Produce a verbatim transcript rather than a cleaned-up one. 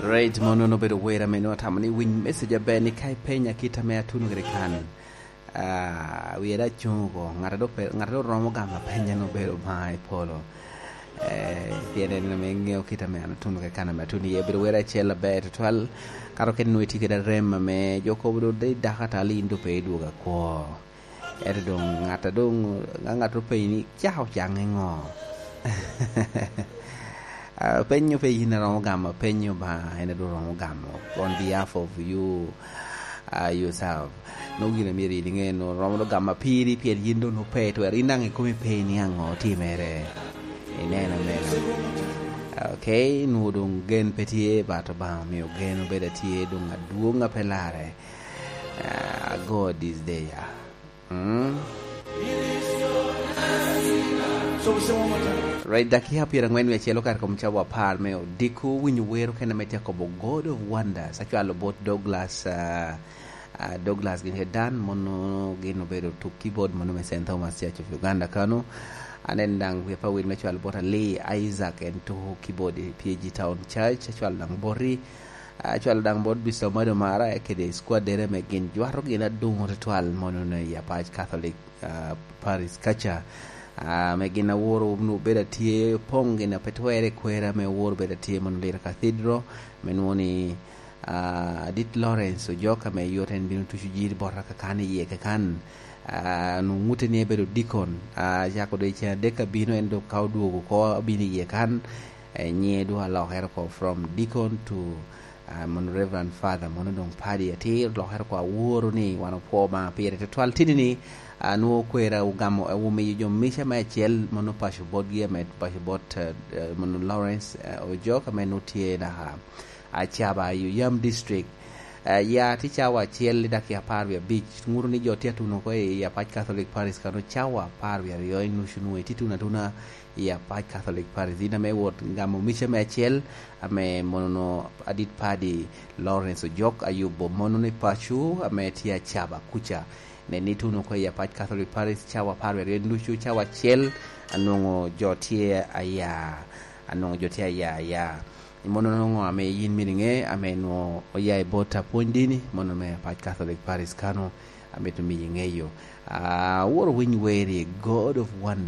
Right, mon nono obedo wer ame nwoŋo atamo ni winy message aber ni ka ipenya kit ame atuno kede kan. Ah, wiye da cuŋ oko, ŋat a doŋ pe-, ŋat a doŋ romo gamo apenya ni obedo Obaŋa i polo. Eh, pien en ame ŋeo kit ame an atuno kede kan ame atuno iye. Obedo wer acel aber tutwal, kato kede nwoŋo itye kede arem ame jo kobo doŋ de dako ata, in doŋ pe idwogo akwo. Ento doŋ ŋat a doŋ, ka ŋat openyi ni, "Caka ocaŋ i ŋo?" Ah, penyo pe yin a romo gamo, penyo ba en a doŋ romo gamo on behalf of you, ah, yourself. Nwoŋo gin a myero yin iŋe, nwoŋo romo doŋ gamo piri, pien yin doŋ nwoŋo pe twero. In daŋ ikomi pe ni aŋo otimere. Ineno meno. Okay, nwoŋo doŋ gen pe tye, but Obaŋa omio gen obedo atye doŋ adwoŋ a pe larre. Ah, ago this day, ah. Mm. Right, dakiya pyerangwen wie acel okato kom cawa apar me odiko, winyo wero kena me tye akobo God of Wonders. Acwalo bot Douglas, ah, ah, Douglas gin kede Dan, mono gin obedo tuk keyboard mono me Saint Thomas Church of Uganda kano. Aneno daŋ wie pa wil me cwalo bot Ali Isaac, en tuko keyboard i P A G Town Church, acwalo daŋ boti. Acwalo daŋ bot Mister Omado Mara kede squaddere ame gin jwato gin adoŋo tutwal mono i Apac Catholic, ah, Parish kaca. Ah, ame gin aworo wunu bedo atye poŋ gin a pe twerre i kwera ame oworo bedo atye mono Lira Cathedral, ame nwoŋo ni, ah, Adit Lawrence Ojok ame yot en bino tuco jiri bota kakan iye kakan. Ah, nwoŋo ŋute ni ebedo dikon. Ah, cako doŋ i ceŋ adek abino, en doŋ ka odwogo oko abino iye kan, eh, nyiŋe doŋ alokere oko from deacon to, ah, mono Reverend Father, mono doŋ Paddy atir, olokere oko aworo ni wan opwo Obaŋa pire tutwal. Tini ni, ah, nwoŋo kwera ogamo, eh, omiyo jo mica me acel, mono paco botgi, ame paco bot, eh, eh, mono Lawrence, eh, Ojok, ame nwoŋo tye naka Acaba i Oyam District. Eh, ya tye cawa acel i dakika apar wie abic. Ŋuto ni jo tye atuno oko i Apac Catholic Parish kano cawa apar wie aryo i nucu nwoŋo itye tuno atuna i Apac Catholic Parish. In ame wot gamo mica me acel, ame mono Adit Paddy Lawrence Ojok ayubo mono ni paco ame tye Acaba kuca. Nen ni tuno oko i Apac Catholic Parish cawa apar wie aryo i nucu, cawa acel anwoŋo jo tye aya, anwoŋo jo tye aya aya. Mono nwoŋo ame yin mito iŋe, ame nwoŋo oya i bot apwony dini, mono me Apac Catholic Parish kano, amito miyi ŋeyo. Ah, aworo winy weri, God of Wonder.